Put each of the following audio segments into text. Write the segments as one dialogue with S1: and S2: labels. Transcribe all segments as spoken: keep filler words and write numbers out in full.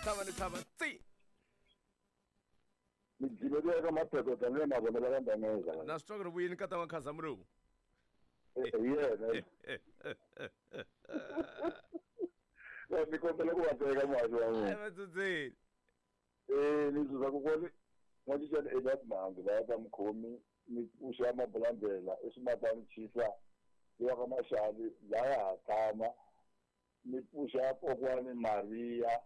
S1: tlhava ni tlhava tsi.
S2: Ni jimele ka mapheko tanihi mavonelo ka ndangeza.
S1: Na swi twa ku ri vuyini ka ta Khazamula.
S2: Yena. Wa mi kombela ku va teka muhaxi wa n'wina.
S1: Ai vatsutseni.
S2: Eh ni zuza kokwani n'wacincani Elias Mhangi va ya ka mukhomi ni pfuxa mabulandlela i swimatani chisa wa ka Maxavi laya ha tshama ni pfuxa kokwani Maria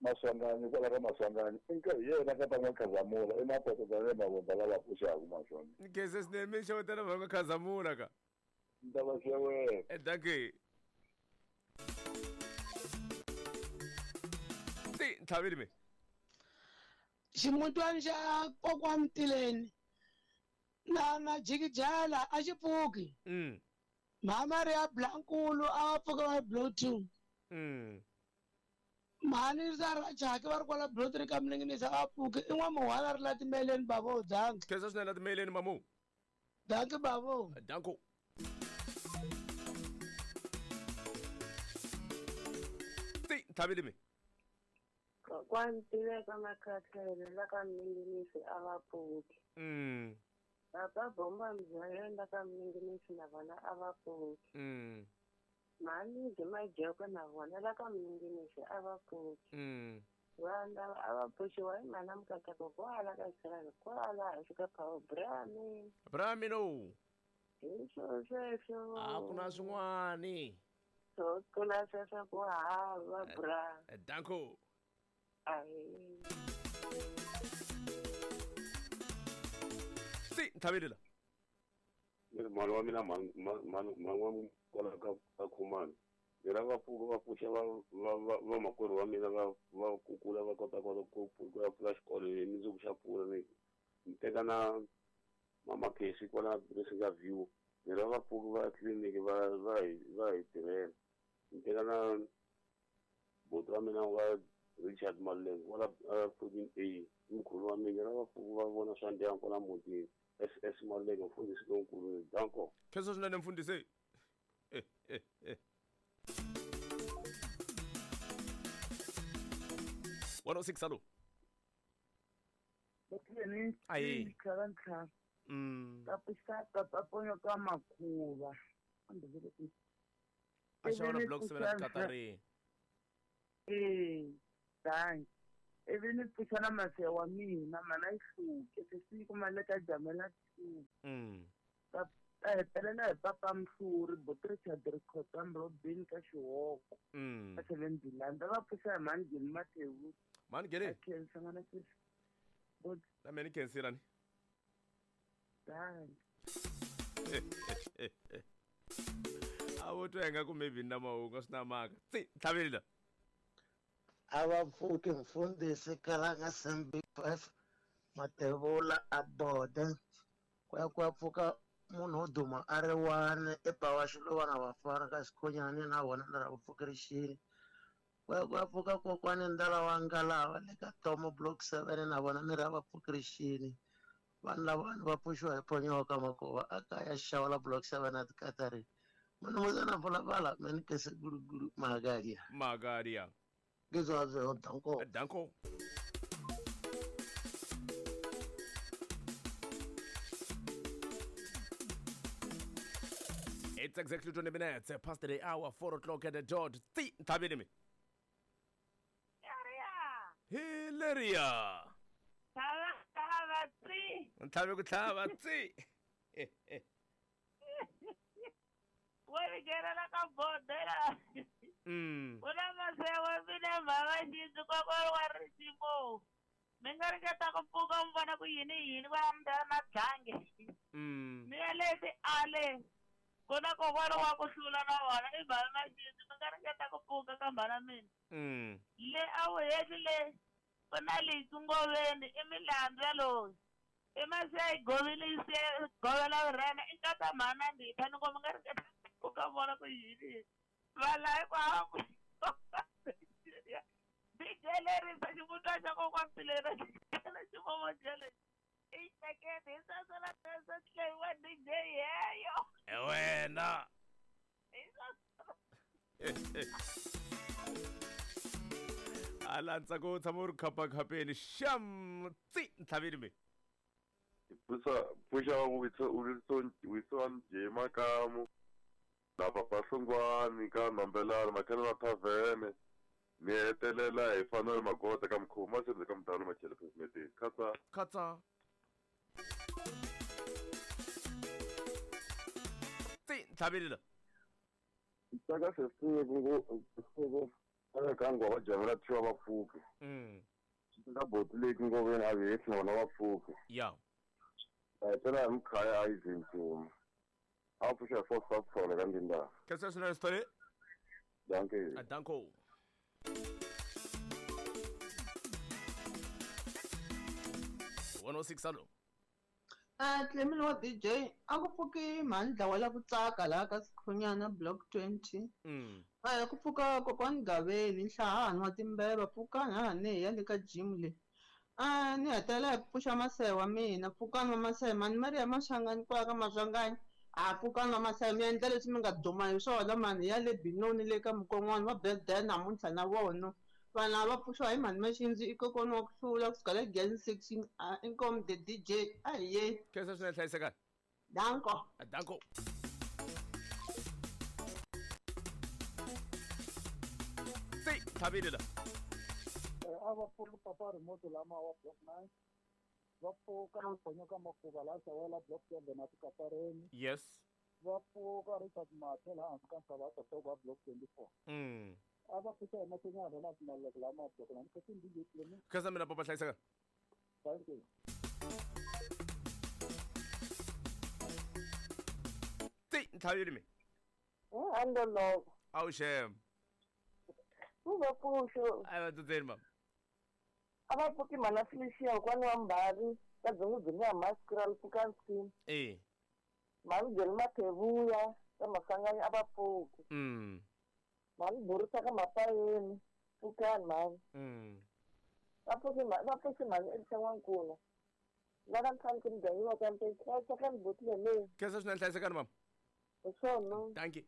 S2: Maswanganyi kwala ka Maswanganyi i nkarhi yena ka ta n'wa Khazamula i mapoto tanihi mavondzo lava pfuxaka maswona.
S1: Ni khensa swinene mi xewetela vanhu va Khazamula ka.
S2: Ni ta va xeweta.
S1: Eh dankie. Ti ntlhaveli mi.
S3: Ximutwana xa kokwani Tileni na na jikijala a xi pfuki.
S1: Mm.
S3: Mama ri ya Blankulu a va pfuka va blow two.
S1: Mm.
S3: Mhani za ra Jaki va ri kwala blow three ka Mninginisi a va pfuki i n'wamuhwana ri la timeleni bavo danki.
S1: Khensa swinene la timeleni mamu.
S3: Danki bavo.
S1: Danko. Ti ntlhaveli mi.
S4: Kokwani Tiveka Makhathele la ka Mninginisi a va pfuki.
S1: Mm.
S4: Papa Bomba Mzwayo la ka Mninginisi na vona a va pfuki.
S1: Mm.
S4: Mhani Majoko na vona la ka Mninginisi a va pfuki.
S1: Mm.
S4: Vanhu lava a va pfuxiwa hi mhana Mukateko kwala ka Xirhalo kwala hansi ka Power Brami.
S1: Brami no.
S4: Hi swo sweswo.
S1: A ku na swin'wani.
S4: Swo tlula sweswo ku hava bra.
S1: Danko.
S4: Ahi.
S1: Ti ntlhaveli la.
S2: Mhani wa mina mhani mhani wa kwala ka ka Khumani ni ra va pfuka va pfuxa va va vamakwerhu wa mina va va kukula va kota kota ku ku ya pfula xikolo hi mundzuku xa pfula ni ni teka na mama Khesi kwala Blessing View ni ra va pfuka va tliliniki va va hi va hi tirhela ni teka na buti wa mina wa Richard Maleng kwala fourteen A mkhulu wa mina ra va pfuka va vona swa ndyangu kwala mutini S S Maleng mfundhisi lonkulu danko.
S1: Khensa swinene mfundhisi. Eh eh eh. one oh six alo. Ayi. Mm.
S5: Ka papa ponyo ka makhuva.
S1: A xava block seven Katari.
S5: Eh, thanks. Ivi ni pfuxa na masiya wa mina mana yi hluke se siku mali ka jamela two.
S1: Mm.
S5: Ta hetelela hi papa Mhluri buti Richard Rikhotsa Robin ka Xihoko.
S1: Mm.
S5: Ka seven Bilanda va pfuxa hi mhani Geni Mathewu.
S1: Mhani Geni.
S5: Khensa n'wana sweswi. Buti.
S1: Na mina ni khensile ni.
S5: Thanks.
S1: A vo twa ingaku maybe ni na mahungu a swi na mhaka. Tsi ntlhaveli la.
S6: A va pfuki mfundhisi Kalanga Sam Big Five Matevula a boda ku ya ku ya pfuka munhu wo duma a ri one i Bawa Xiluva na vafana ka Xikhonyani na vona ni ra ku pfuka rixini ku ya ku ya pfuka kokwani Ndala wa Ngalava le ka Tomo Block seven na vona ni ra va pfuka rixini vanhu lavawani va pfuxiwa hi Ponyoka Makova a kaya Xawula Block seven a Tikatari munumuzana Phalaphala me ni kese gulugulu Magadia
S1: Magadia.
S6: Ngizwa danko.
S1: Danko. It's exactly twenty minutes past the hour, four o'clock at the dot. Ti ntlhaveli mi.
S4: Hilaria.
S1: Hilaria.
S4: Tlhava tlhava tsi.
S1: Ntlhavi ku tlhava tsi.
S4: Wa ri ka bodela.
S1: Mm.
S4: Ku na masiya wa mina mhava xindzu kokwani wa risimu. Mi nga ringeta ku pfuka mi vona ku yini yini va mi na dlange.
S1: Mm.
S4: Mi ya le tiale. Ku na kokwana wa ku hlula na vona i mhani Maxindzu mi nga ringeta ku pfuka ka mhana mina.
S1: Mm.
S4: Le a wu heli le ku na Litsu Ngoveni i milandzu yaloyi. I masiya yi govile yi siya govela vurhena i nkata mhana Nditha ni ngo mi nga ringeta ku pfuka vona ku yini. Vala hinkwavo D J lerisa xivundla xa kokwani Tileni ximomo jele i xekete hi sweswo na sweswo tlheyiwa D J yeyo.
S1: Wena.
S4: Hi sweswo.
S1: Ala ntsako wu tshama wu ri khapakhapeni xam tsi ntlhaveni mi.
S2: Pfuxa pfuxa Wilson Wilson J Makamu na Papa Hlongwani ka Nambelana Makhelwana Tavene ni hetelela hi Fanuel Magota ka Mkhuma Sendze ka Mdalo Machele President Khatsa
S1: Khatsa tsi ntlhaveni la
S2: Tsaka sesiku ngo ngo ka ngwa va jamela thiwa va pfuki
S1: mm
S2: ka boti leyi ngoveni a vi na vona va pfuki
S1: ya
S2: hetelela hi Mkhaya a yi Ntsuma a pfuxa four five four ka Ndinda
S1: Khensa swinene Sithole
S2: dankie
S1: danko one oh six alo
S7: Ah Clement wa D J a ku pfuki mhani dlawa la ku tsaka laha ka Sikhunyana block twenty
S1: mm
S7: a ku pfuka kokwani Gaveni nhlahani wa timbeva pfukani hahani hi ya le ka gym le a ni hetelela hi ku pfuxa masehe wa mina pfukani va masehe mani Maria Maswanganyi kwala ka Maswanganyi a pfukani va masehe mi endla leswi mi nga duma hi swona mani ya le Binoni le ka mukon'wana va birthday namuntlha na vona vanhu lava va pfuxiwa hi mhani Maxindzi i kokwana wa ku hlula kusuka le Glen section inkomu the D J a hi yeni
S1: Khensa swinene hlayisekani
S7: danko
S1: danko tsi ntlhaveni la
S8: a va pfuki papa remote lama wa block nine va pfuka Ponyoka Makuva laha Xawela block seven a Tikapareni
S1: yes
S8: va pfuka Richard Mathe laha hansi ka ntshava ya Totoko wa block twenty four
S1: mm
S8: a va pfuxa hi Masenyana na Maleke lama block nine khansini D J Clement
S1: Khensa mina papa hlayisekani
S8: thank you
S1: tsi ntlhaveni mi
S5: Andoloko
S1: awu xem
S5: u va pfuxo
S1: a va tsutseni mama
S5: a va pfuki mhana Felicia kokwani wa Mbari ka dzongedzonge ya Mascral pfukani scheme
S1: e
S5: mhani Joni Mathevuya ka Maswanganyi a va pfuki
S1: mm
S5: mhani Borisa ka Mapayeni pfukani mhani
S1: mm
S5: va pfuki va pfuxi mhani Elisa N'wankuna la ka ntlhanu ku mudyanyiwa ka mpeni hlayisekani botile leyi
S1: Khensa swinene hlayisekani mama
S5: hi swona
S1: thank you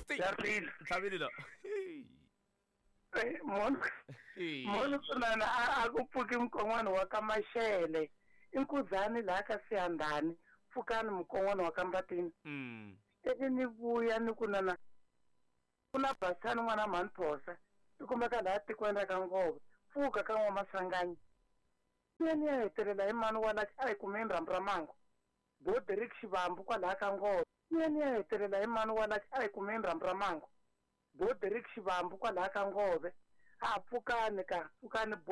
S1: tsi ntlhaveni la
S5: munhu munhu swinene a ku pfuki mukon'wana wa ka Maxele i Nkuzani laha ka Siyandhani pfukani mukon'wana wa ka Mbatini
S1: mm
S5: ivi ni vuya ni ku nana ku na Basani n'wana mhani Phosa i kumeka laha tikweni ra ka Ngove pfuka ka N'wamaswanganyi ni ni ya hetelela hi mani wa la a hi kumeni rhambu ra mango Boderick Xivambu kwalaha ka Ngove ni ni ya hetelela hi mani wa la a hi kumeni rhambu ra mango Boderick Xivambu kwalaha ka Ngove a pfukani ka pfukani